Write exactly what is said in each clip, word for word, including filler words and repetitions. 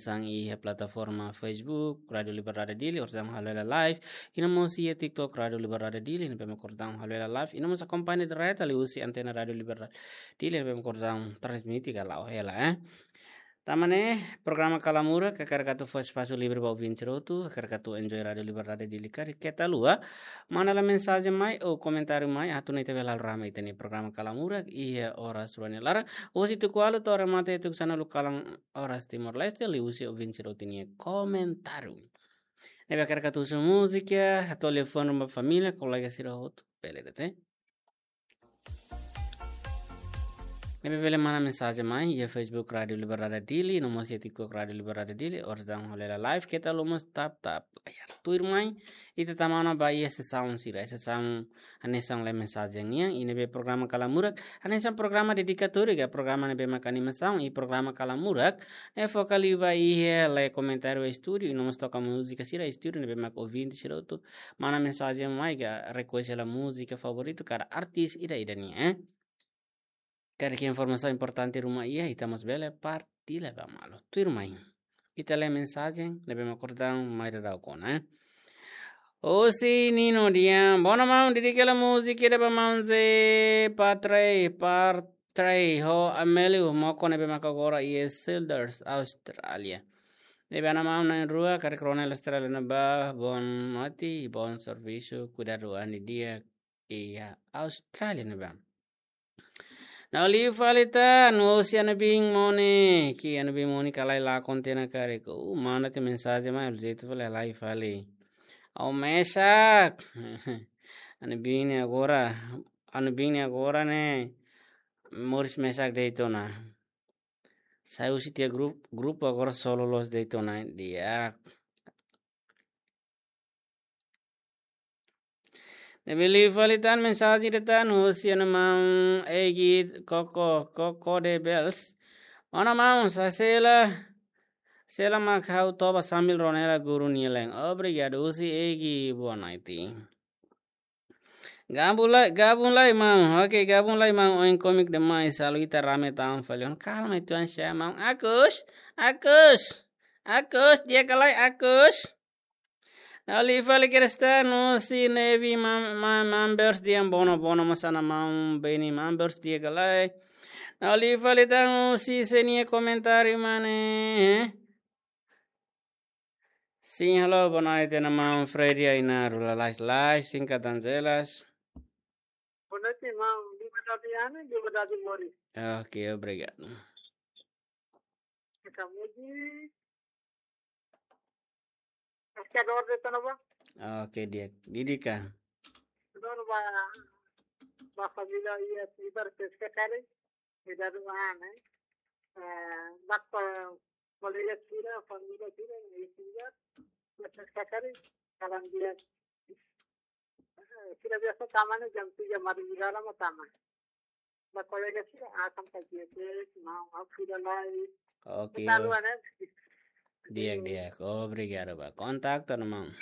tan iha plataforma Facebook Rádio Liberdade Dili, orsida halo hela live, i no mós iha TikTok Rádio Liberdade Dili, ne'ebé mak orsida halo hela live, i no mós akompaña direta liuhusi antena Rádio Liberdade Dili, ne'ebé mak orsida transmite ka la'o hela, eh. Tanba ne'e, programa Kala Murak, hakarak atu fó espasu livre ba ouvinte sira hotu, hakarak atu enjoy Rádio Liberdade Dili karik keta haluha, manda lai mensajen mai ou komentáriu mai, atu nune'e ita bele halo rame ita-nia programa Kala Murak iha oras rua nia laran, husi tuku ualu to'o remata iha tuku sanulu kalan oras Timor-Leste, liuhusi ouvinte sira hotu nia komentáriu. Ne'ebé hakarak atu husu múzika, atu liafuan ruma família, kolega sira hotu, bele de'it, eh. Ne'ebé bele manda mensajen mai iha Facebook Rádio Liberdade Dili, no mós iha TikTok Rádio Liberdade Dili, orsida halo hela live, keta haluha mós tap tap layar. Tuirmai, ita tama ona ba iha sesaun sira, sesaun hanesan lee mensajen nian, i ne'ebé programa Kala Murak, hanesan programa dedikatóriu ka programa ne'ebé mak animasaun, i programa Kala Murak ne'e foka liu ba iha lee komentáriu estúdiu, i no mós toka múzika sira estúdiu, ne'ebé mak ouvinte sira hotu manda mensajen mai ka request hela múzika favoritu kada artis ida-idak nian, eh. Karik informasaun importante ruma iha, ita mós bele partilla ba malu. Tuirmai, ita lee mensajen ne'ebé mak orsida mai daudaun ona, eh. Husi Nino dehan, boa ona maun, dedika hela múzika ida ba maun Ze Patrei, Patrei ho Amelio Moko ne'ebé mak agora iha Sydney, Austrália. Ne'ebé ona maun na'in-rua, karik rona hela Austrália ne'ebá, boa noite, bom serviço, kuidadu an di'ak iha Austrália ne'ebá. Ha'u liu fali tan, husi Ana Bin Mone, ke Ana Bin Mone ka lae lakon tiha ona karik. Uh, manda tiha mensajen mai, jeitu fali, lae fali. Ha'u mesak. Ana Bin ne'e agora, Ana Bin ne'e agora ne'e moris mesak de'it ona. Sai husi tiha grup, grupu agora solo loos de'it ona, di'ak. Ne'ebé liu fali tan mensajen ida tan husi Ana Maun Egi Koko, Koko de Bels. Ona maun, sasela, sela mak ha'u toba sambil rona hela guru nia leeng. Obrigadu husi Egi, boa noite. Gabung lai, gabung lai maun. Oke, gabung lai maun. Oin komik demais, halo ita rame tan fali. Ona kalma itu an sha maun. Akus, Akus, Akus, di'ak ka lae Akus. Ha'u liu fali Kristiano, husi Nevi mam-, mam-, members dehan boa ona, boa ona mós Ana Maun Beni members di'ak ka lae. Ha'u liu fali tan husi sé nia komentáriu mane. Sim, halo, boa noite, Ana Maun Freddy Ainaro, lalais, lais, singkat dan jelas. Boa noite, maun. Liberdade Ana, liberdade moris. Ok, obrigadu. Ita muji. Esta dor de tanaba. Ok, di'ak. Dedika. Dor ba, ba família iha Tibar Pesca Kare. Kuidadu an, eh. Eh, ba ko-, kolega sira, família sira, iha Tibar Pesca Kare. Kalan di'ak. Eh, sira biasa tama ne'e jam tiga madrugada mak tama. Ba kolega sira, ah, sampai dia ke, mau, aku sira lai. Ok, ita o-, luar, eh. Di'ak, di'ak. Obrigadu ba kontaktu, Ana Maun.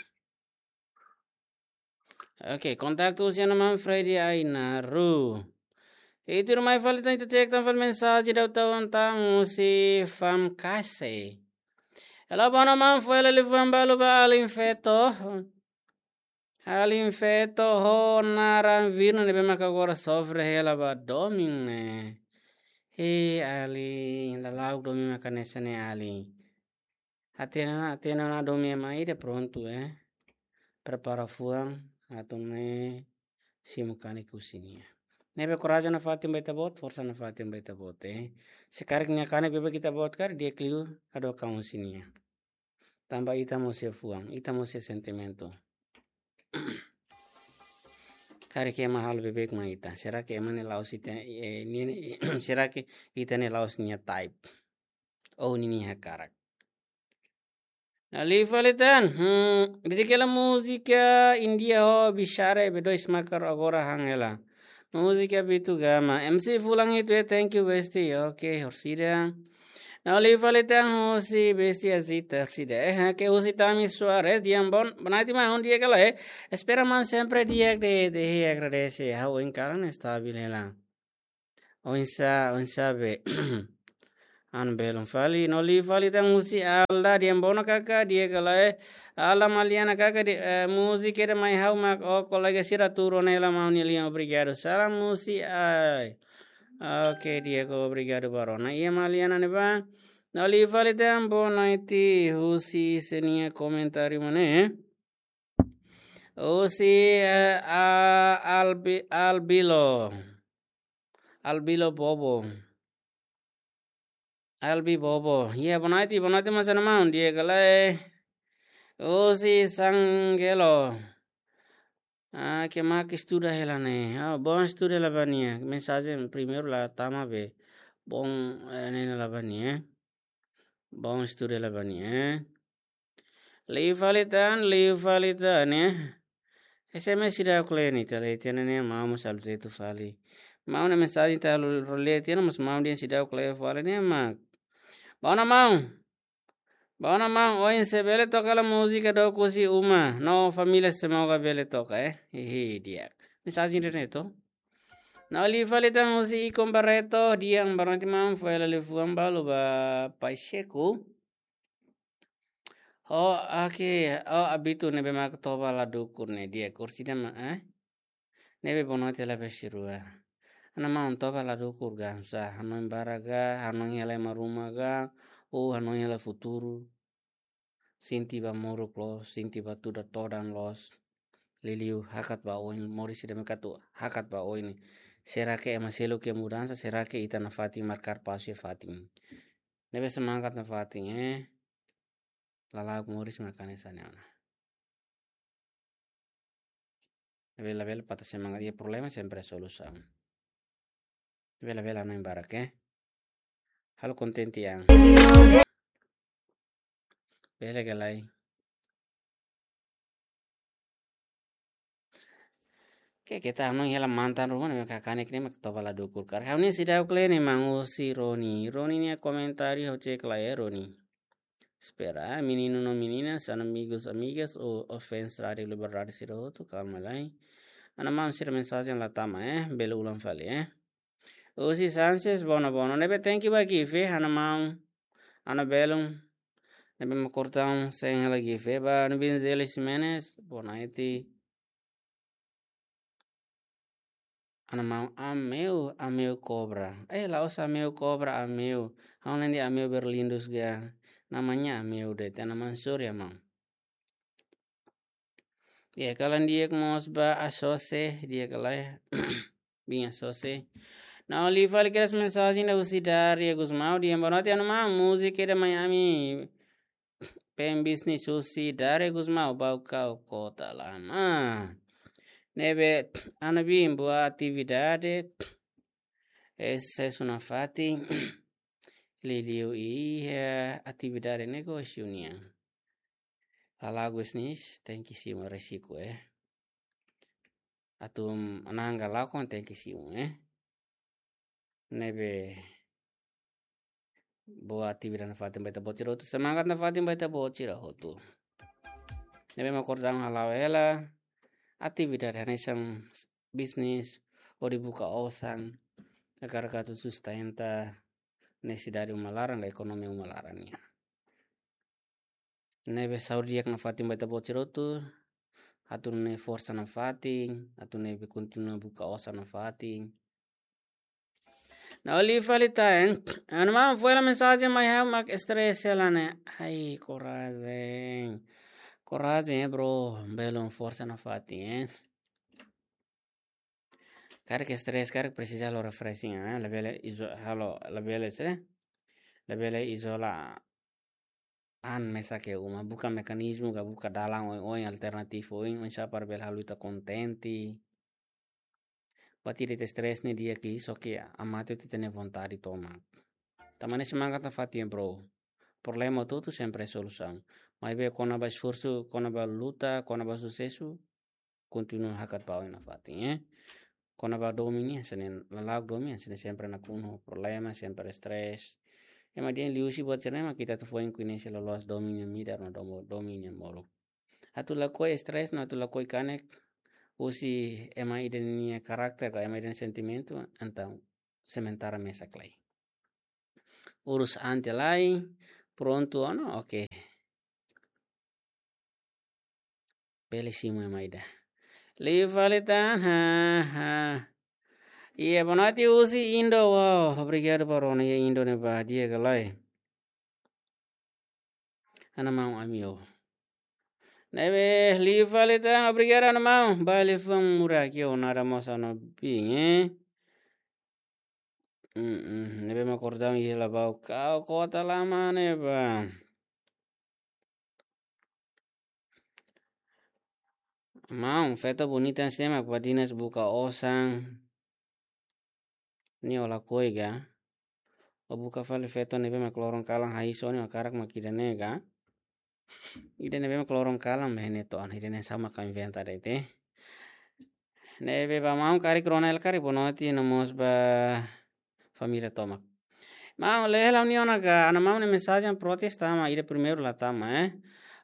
Ok, kontaktu husi Ana Maun Freddy Ainaro. I tuirmai fali tan ita cek tan fali mensajen daudaun tan husi Fam Kase. Halo, boa ona maun, fó hela liafuan balu ba alin feto. Alin feto ho naran Virno ne'ebé maka agora sofre hela ba domin ne'e. He alin, lala'ok domin maka hanesan ne'e alin. Hatene ona, hatene ona domin ema ida prontu, eh. Prepara fuan, atu nune'e simu kanek husi nia. Ne'ebé korajen nafatin ba ita-boot, forsa nafatin ba ita-boot, eh. Se karik nia kanek beibeik ita-boot karik, di'ak liu hadook an husi nia. Tanba ita mós iha fuan, ita mós iha sentimentu. Karik ema halo beibeik mai ita. Será que ema ne'e la'ós ita, eh, nia ne'e, será que ita ne'e la'ós nia type? Ou ninia hakarak? Ha'u liu fali tan, hmm, dedika hela múzika India ho Bishare, be dois makar agora han hela. Múzika Bitu Gama. M C Fulan itu, eh, thank you, bestie. Ok, orsida. Ha'u liu fali tan husi bestie Azita, orsida. Eh, ke husi Tami Suarez, dehan boa, boa noite, maun, di'ak ka lae. Espera maun sempre di'ak de'it, de'it, agradese. Ha'u oin kalan stabil hela. Oinsá, oinsá be. An belun fali, no liu fali tan husi Alda, di'ak, bono kaka, di'ak ka lae. Alda Maliana kaka, di, eh, múzika ida mai ha'u mak, o kolega sira tuur ona hela maun nia lian, obrigadu. Salam husi ai. Oke, di'ak, obrigadu ba rona. Iha Maliana ne'ebá. No liu fali tan boa noite, husi sé nia komentáriu mak ne'e. Husi, eh, a, Albi-, Albilo. Albilo Bobo. Albi Bobo. Iha, boa noite, boa noite, mós ana maun, di'ak ka lae. Husi Sangelo. Ah, ke mak estuda hela ne'e. Ah, bom estuda hela ba nia. Mensajen primeiru la tama be. Bom, eh, ne'e la ba nia, eh. Bom estuda hela ba nia, eh. Liu fali tan, liu fali tan, eh. S M S seidauk lee ne'e, ita lee tiha ona ne'e, maun mós halo jetu fali. Maun nia mensajen ita halo lee tiha ona, mas maun dehan seidauk lee fali ne'e, mak. Boa noite, maun. Boa noite, maun. Ohin sé bele toka hela múzika Dook Husi Uma no família, semoga bele toka, eh. Hihi, di'ak. Mensajen ida ne'e to. No liu fali tan husi Icon Barreto, di'ak, boa noite maun, fó hela liafuan balu ba Pacheco. Oh, oke. Oh, abitu ne'ebé mak toba la dukur ne'e, di'ak, kursi dama, eh? Ne'ebé boa noite hela ba sira rua. Ana maun, toba la dukur ka, sa, hanoin barak ka, hanoin hela ema ruma ka, ou hanoin hela futuru. Sente ba moruk loos, sente ba tuda todan loos. Liuliu hakat ba oin, moris ida mak atu hakat ba oin. Será que ema seluk iha mudansa, será que ita nafatin markar pasu iha fatin? Ne'ebé semangat nafatin, eh. Lala'ok moris mak hanesan ne'e ona. Ne'ebé labele patah semangat, iha problema sempre solusaun. Ne'ebé labele hanoin barak, eh. Halo kontente an. Bele ka lae. Ke, keta hanoin hela mantan ruma ne'e mak kanek ne'e mak toba la dukur karik. Ha'u-nia seidauk lee ne'e, maun, husi Roni. Roni nia komentáriu ha'u cek lai, eh, Roni. Espera, meninu no meninas, amigos, amigas, ou, ou fans Rádio Liberdade sira hotu, kalma lai. Ana maun, sira mensajen la tama, eh, bele ulang fali, eh. Husi Sanches, bono, bono. Ne'ebé thank you ba gift, eh, ana maun, ana belun. Ne'ebé mak kortaun sen hela gift, eh, ba Nubin Zelis Menes, boa noite. Ana maun, Ameu, Ameu Cobra. Eh, la'ós Ameu Cobra, Ameu. Ha'u-nia naran Ameu Berlindus ka. Namanya Ameu de'it, ana maun, sorry, maun. Di'ak, kalan di'ak mós ba Asose, di'ak ka lae. Bin Asose. No liu fali kedas mensajen ida husi Daria Gusmão, di'ak, boa noite, ana maun, múzika ida mai ami. Pen bisnis husi Daria Gusmão, Baucau, Kota Lama. Ne'ebé, ana bin, boa atividade. Susesu nafatin. Liuliu iha atividade negósiu nian. Lala'ok bisnis, tenke simu risku, eh. Atu na'an ka lakon tenke simu, eh. Ne'ebé boa atividade nafatin ba ita-boot sira hotu, semangat nafatin ba ita-boot sira hotu. Ne'ebé mak kortaun hala'o hela atividade hanesan bisnis, hodi buka osan, hakarak atu sustenta nesesidade uma laran ka ekonomia uma laran nian. Ne'ebé saúde di'ak nafatin ba ita-boot sira hotu, atu nune'e forsa nafatin, atu nune'e kontinua buka osan nafatin. No liu fali tan, eh. Ana maun, fó hela mensajen mai ha'u mak stress hela ne'e. Ai, korajen. Korajen, eh, bro, belun, forsa nafatin, eh. Karik stress, karik presiza halo refreshing, eh. Labele izo-, halo, labele se. Labele izola an mesak iha uma, buka mekanizmu ka buka dalan oioin, alternativa oioin, oinsá para bele halo ita kontente. Buat ida ita stress ne'e di'ak, só ke amate ita-nia vontade tomak. Tanba ne'e semangat nafatin, bro. Problema hotu-hotu sempre solusaun. Maibé kona-ba esforsu, kona-ba luta, kona-ba susesu, kontinua hakat ba oin nafatin, eh. Kona-ba domin nian, hanesan ne'e, lala'ok domin, hanesan ne'e, sempre nakonu problema, sempre stress. Ema dehan liuhusi buat sira-ne'e mak ita atu foin koñese loloos domin nia midar no domo-, domin nia molok. Atu lakohi stress no atu lakohi kanek husi ema ida nia karakter ka ema ida nia sentimentu, entaun sementara mesak lai. urus an tiha lai, prontu ona, oke. Bele simu ema ida. Liu fali tan, ha, ha. Iha, boa noite husi Indo, wow, obrigadu ba rona iha Indo ne'ebá, di'ak ka lae? Ana maun ami ho. Ne'ebé liu fali tan, obrigadu ana maun. Ba liafuan murak ho nada mós ana bin, eh. Mm, mm, ne'ebé mak kordau iha Labau, kau kota lama ne'ebá. Maun, feto bonita sira mak badinas buka osan. Nia ó lakohi ka? Ó buka fali feto ne'ebé mak loron kalan hahí sone ó hakarak mak ida-ne'e ka? Ida ne'ebé mak loron kalan be ne'e to'o, ida-ne'e sá mak inventa de'it. Ne'ebé ba maun, karik rona hela karik boa noite no mós ba família tomak. Maun, lee hela nia ona ka, ana maun nia mensajen protes tama, ida primeiru la tama, eh.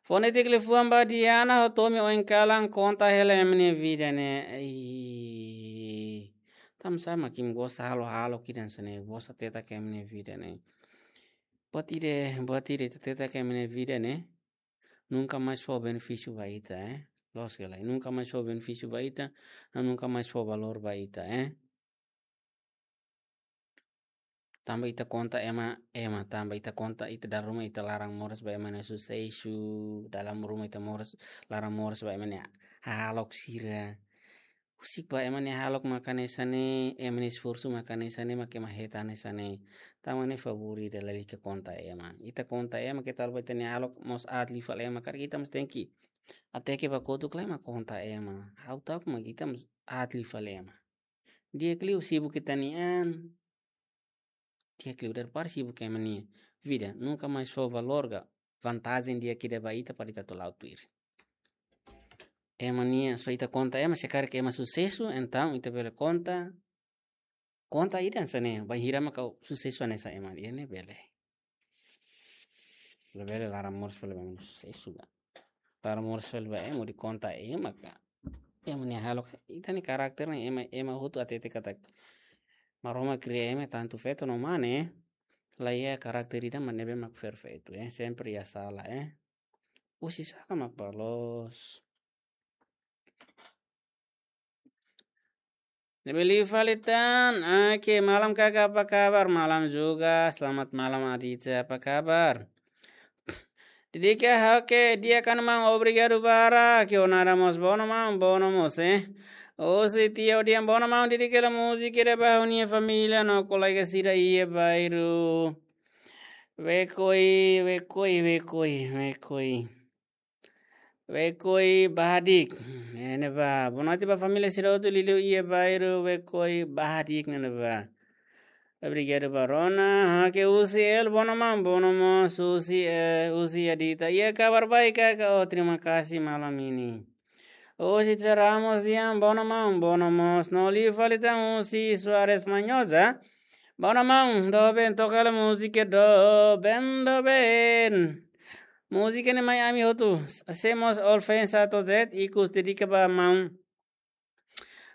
Fó netik liafuan ba Diana ho Tomi oin kalan konta hela ema nia vida ne'e. Ih, tanba sá mak imi gosta halo-halo ida-ne'e, gosta tetak ema nia vida ne'e. Buat ida, buat ida ita tetak ema nia vida ne'e, nunka mais fó benefísiu ba ita, eh. Loos ka lae, nunka mais fó benefísiu ba ita, no nunka mais fó valór ba ita, eh. Tanba ita konta ema, ema, tanba ita konta ita dala ruma ita laran moras ba ema nia susesu, dala ruma ita moras, laran moras ba ema nia hahalok sira. Husik ba ema nia hahalok mak hanesan ne'e, ema nia esforsu mak hanesan ne'e, mak ema hetan hanesan ne'e. Tanba ne'e favór ida lalika konta ema. Ita konta ema, keta haluha ba ita-nia hahalok mós aat liu fali ema, karik ita mós tenke hateke ba kotuk lai mak konta ema. Ha'u ta'uk mak ita mós aat liu fali ema. Di'ak liu sibuk ita-nia an. Di'ak liu daripada sibuk ema nia vida. Nunka mais fó valór ka vantajen di'ak ida ba ita para ita atu la'o tuir. Ema nia, só ita konta ema, se karik ema susesu, entaun ita bele konta. Konta ida hanesan ne'e, bainhira mak ha'u susesu hanesan ema, iha ne'e bele. Labele laran moras fali ba ema nia susesu ka. Laran moras fali ba ema hodi konta ema ka. Ema nia hahalok, ita-nia karakter ne'e ema, ema hotu hatete katak Maromak kria ema tantu feto no mane, la iha karakter ida mak ne'ebé mak perfeitu, eh. Sempre iha sala, eh. Husi sala mak bá loos. Ne'ebé liu fali tan, oke, malam kakak, apa kabar? Malam juga, selamat malam Aditya, apa kabar? Didik ka, oke, di'ak ka maun, obrigadu barak, ke o nada mós, bono maun, bono mós, eh. Husi Tio Dian, bono maun, didik hela múzika ida ba ha'u-nia família no kolega sira iha bairru. Wekoi, wekoi, wekoi, wekoi. Wekoi Bahadik. Ne'e ba, boa noite ba família sira hotu liuliu iha bairru Wekoi Bahadik ne'e ba. Obrigadu ba rona. Oke, husi El, bono maun, bono mós, husi, eh, husi Adita. Iha kabar baik ka, oh, terima kasih malam ini. Husi Tia Ramos Dian, bono maun, bono mós. No liu fali tan husi Suarez Manhosa. Bono maun, doben, toka hela múzika doben, doben. Múzika ne'e mai ami hotu. Hacemos all fans A to Z, ikus dedika ba maun.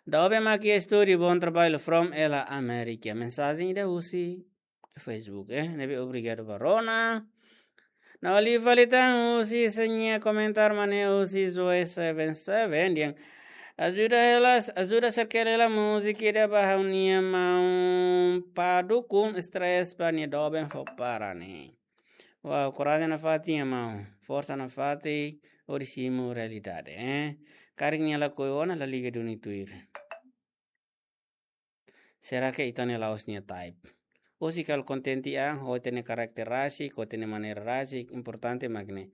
Doben mak iha estúdiu, bom trabalho from Ela América. Mensajen ida husi Facebook, eh. Ne'ebé obrigadu ba rona. No liu fali tan husi sira-nia komentáriu mak ne'e husi Zoe seven seven dehan. Ajuda hela, ajuda share hela múzika ida ba ha'u-nia maun Padu, kun stress ba nia doben fó para ne'e. Wow, korajen nafatin, maun. Forsa nafatin, hodi simu realidade, eh. Karik nia lakohi ona, la liga duni tuir. Será que ita-nia la'ós nia type? Ou se kal kontente an, ho ita-nia karakter rasik, ho ita-nia maneira rasik, importante mak ne'e.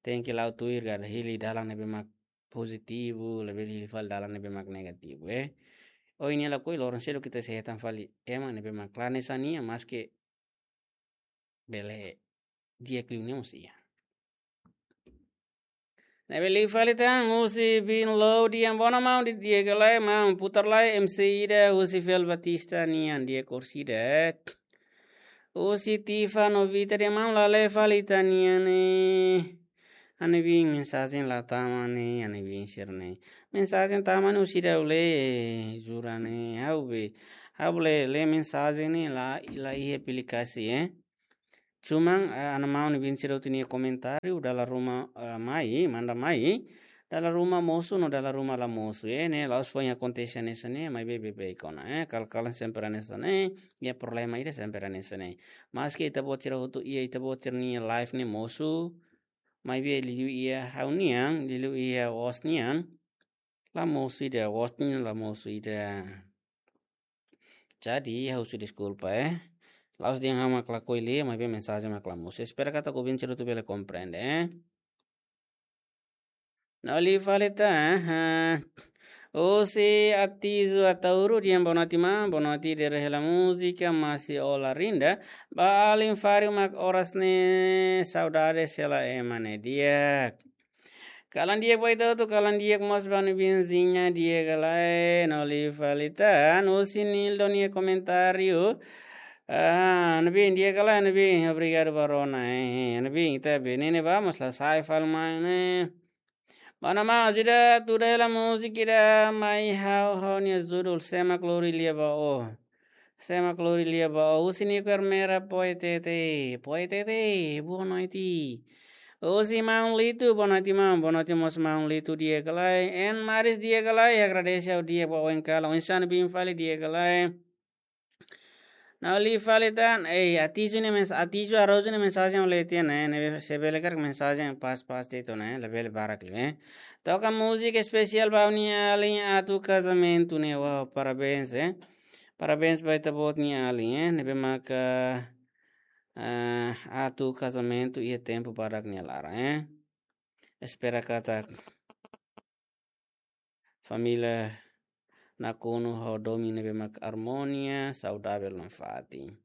Tenke la'o tuir ka, hili dalan ne'ebé mak pozitivu, labele hili fali dalan ne'ebé mak negativu, eh. Ohin nia lakohi, loron seluk ita sei hetan fali ema ne'ebé mak la hanesan nia, maske bele di'ak liu nia mós iha. Ne'ebé liu fali tan husi Bin Low dehan, bono maun, di'ak ka lae maun, putar lai M C ida husi Fel Batista nian, di'ak orsida. Husi Tifa Novita dehan, maun, la lee fali ita-nia ne'e. Ha'u-nia bin mensajen la tama ne'e, ha'u-nia bin sira ne'e. Mensajen tama ne'e husi ida ha'u lee, jura ne'e, ha'u be, ha'u lee, lee mensajen ne'e la, la iha aplikasi, eh. Cuman, eh, ana maun ne'ebé sira hotu nia komentáriu, dala ruma, eh, mai, manda mai, dala ruma mosu no dala ruma la mosu, eh, ne'e, la'ós foin akontese hanesan ne'e, maibé beibeik ona, eh, kala-kala sempre hanesan ne'e, iha problema ida sempre hanesan ne'e. Maski ita-boot sira hotu, iha ita-boot sira-nia live ne'e mosu, maibé liuliu iha ha'u-nian, liuliu iha Os nian, la mosu ida, Os nian la mosu ida. Jadi, ha'u husu deskulpa, eh. La'ós dehan ha'u mak lakohi lee, maibé mensajen mak la mosu. Espera katak ouvinte sira hotu bele komprende, eh. No liu fali tan, eh. Husi Atizu Ataúro, dehan boa noite, maun, boa noite, dadeer hela múzika, Masi Ola Rinda. Ba alin Fari mak oras ne'e, saudades hela ema ne'e di'ak. Kalan di'ak ba ita hotu, kalan di'ak mós ba Nubinzinha di'ak ka lae, no liu fali tan, husi Nildo nia komentáriu. Ah, Nubin, di'ak ka lae, Nubin, obrigadu ba rona, eh, eh, Nubin, ita be ne'e ne'ebá mós la sai fali mai ne'e. Mana ma, ajuda tuda hela múzika ida mai ha'u, ha'u-nia judul, sé mak lori lia ba ó. Sé mak lori lia ba ó, husi Nico Ermera, Poetete, Poetete, boa noite. Husi maun Litu, boa noite, maun, boa noite mós maun Litu di'ak ka lae. En Maris di'ak ka lae, agradese ha'u di'ak ba oin kalan, oinsá Nubin fali di'ak ka lae. No liu fali tan, eh, Atizu nia mens-, Atizu Araújo nia mensajen ha'u lee tiha ne'e, ne'e se bele karik mensajen pas-pas tiha ona, eh, labele barak liu, eh. Toka múzika espesiál ba ha'u-nia alin atu kazamentu ne'e, wow, parabéns, eh. Parabéns ba ita-boot nia alin, eh, ne'ebé maka, eh, atu kazamentu iha tempu badak nia laran, eh. Espera katak família nakonu ho domin ne'ebé mak armonia, saudavel no fatin.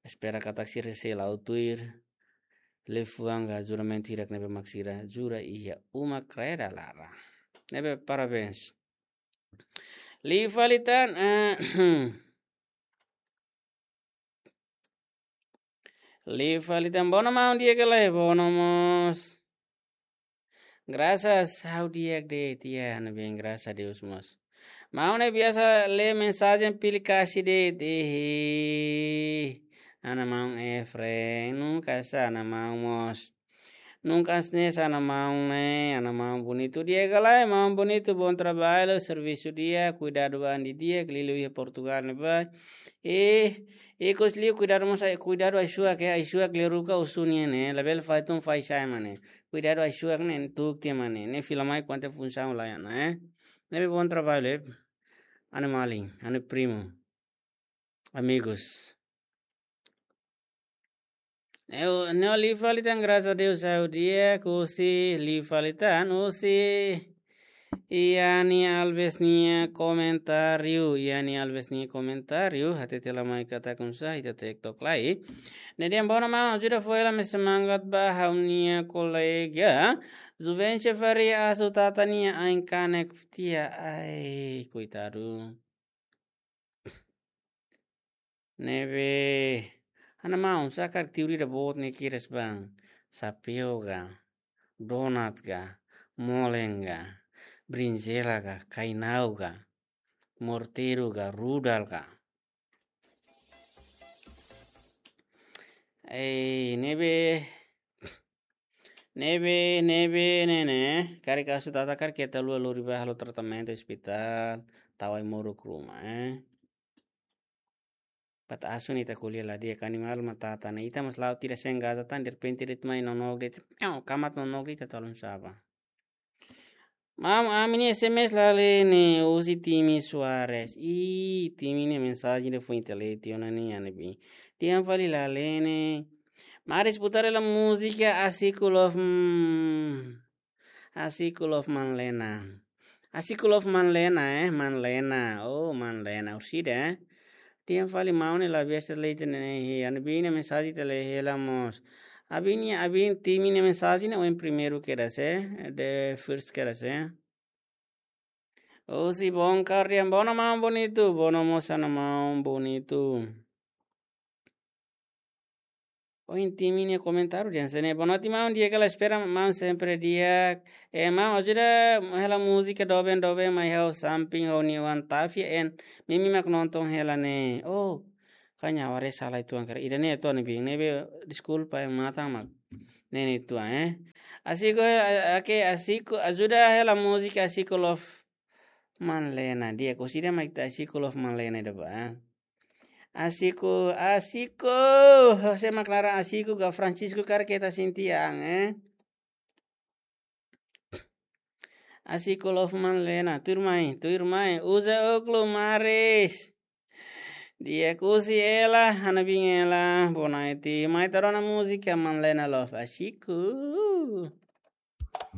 Espera katak sira sei la'o tuir liafuan ka juramentu hirak ne'ebé mak sira jura iha uma kraeda lara. Ne'ebé parabéns. Liu fali tan, eh, liu fali tan, bono maun di'ak ka lae, bono mós. Graças ha'u di'ak de'it, ya, Nubin, graças a Deus mós. Maun ne'e biasa lee mensajen pili kasi de'it, ih. Ana maun Efren, nunka hanesan ana maun mós. Nunka hanesan ana maun ne'e, ana maun bonitu di'ak ka lae, maun bonitu, bom trabalho, servisu di'ak, kuidadu ba an didi'ak, liuliu iha Portugal ne'ebá. Eh, ikus liu kuidadu mós ai, kuidadu ai-suak, eh, ai-suak liu ruka usu nian ne'e, labele fai tun fai sai mane. Kuidadu ai-suak ne'e, tuk tiha mane, ne'e fila mai kuandu funsaun lae ona, eh. Ne'ebé bom trabalho, eh. Anu malin, anu primu. Amigos. Ne'e, ne'e liu fali tan, graças a Deus, ha'u di'ak, husi liu fali tan, husi Yani Alves nia komentáriu, Yani Alves nia komentáriu, hatete la mai katak oinsá ita TikTok lai. Ne'e dehan bono maun, ajuda fó hela mai semangat ba ha'u-nia kolega. Juvencio Faria asu tata nia ain kanek tiha, ai, koitadu. Ne'ebé, ana maun, sá karik teoria ida boot ne'e kedas bang, sapeu ka, donat ka, molen ka, brinjela ka, kainau ka, morteiru ka, rudal ka. Eh, ne'ebé, ne'ebé, ne'ebé, ne'e ne'e, karik asu tata karik keta lua lori ba halo tratamentu ospitál, tau ai-moruk ruma, eh. Bat asu ne'e ita ko'alia la di'ak, animál mak tata ne'e, ita mós la'o tira sen gaza tan, derrepente de'it mai nonook de'it, piau, kamat nonook de'it, ita tolong saba. Maun, ami-nia S M S la lee ne'e, husi Timi Soares. Ih, Timi nia mensajen ida foin ita lee tiha ona ne'e, Nubin. Dehan fali la lee ne'e. Mari escutar la música Así ku love, mm, Así ku love Manlena. Así ku love Manlena, eh, Manlena. Oh, Manlena. Orsida, eh. Dehan fali maun ne'e la biasa lee tiha ne'e, eh, Nubin nia mensajen ita lee hela mós. Abin nia, abin Timi nia mensajen ne'e oin primeiru kedas, eh, the first kedas, eh. Husi Bom Kardian, bono maun bonitu, bono mós ana maun bonitu. Ohin Timi nia komentáriu dehan hanesan ne'e, boa noite maun, di'ak ka lae, espera maun sempre di'ak. Eh, maun, ajuda hela múzika doben doben mai ha'u samping ha'u-nia oan Tafia en, Mimi mak nonton hela ne'e. Oh, Hanya ware sala itu angker. Ida ne'e to ne'ebé, ne'ebé deskulpa yang mata mak. Ne'e ne'e tuan, eh. Asiko, a-, ake asiko, ajuda hela múzika Asiko Love Manlena. Di'ak, husi ida mak ita Asiko Love Manlena ida ba. Asiko, asiko. Sé mak naran asiko ka Francisco kar keta sintian, eh. Asiko Love Manlena, tuirmai, tuirmai, uza ókulu maris. Di'ak, husi Ela, Hanabin Ela, Bonaiti, mai ita rona múzika Manlena Love, Asiko.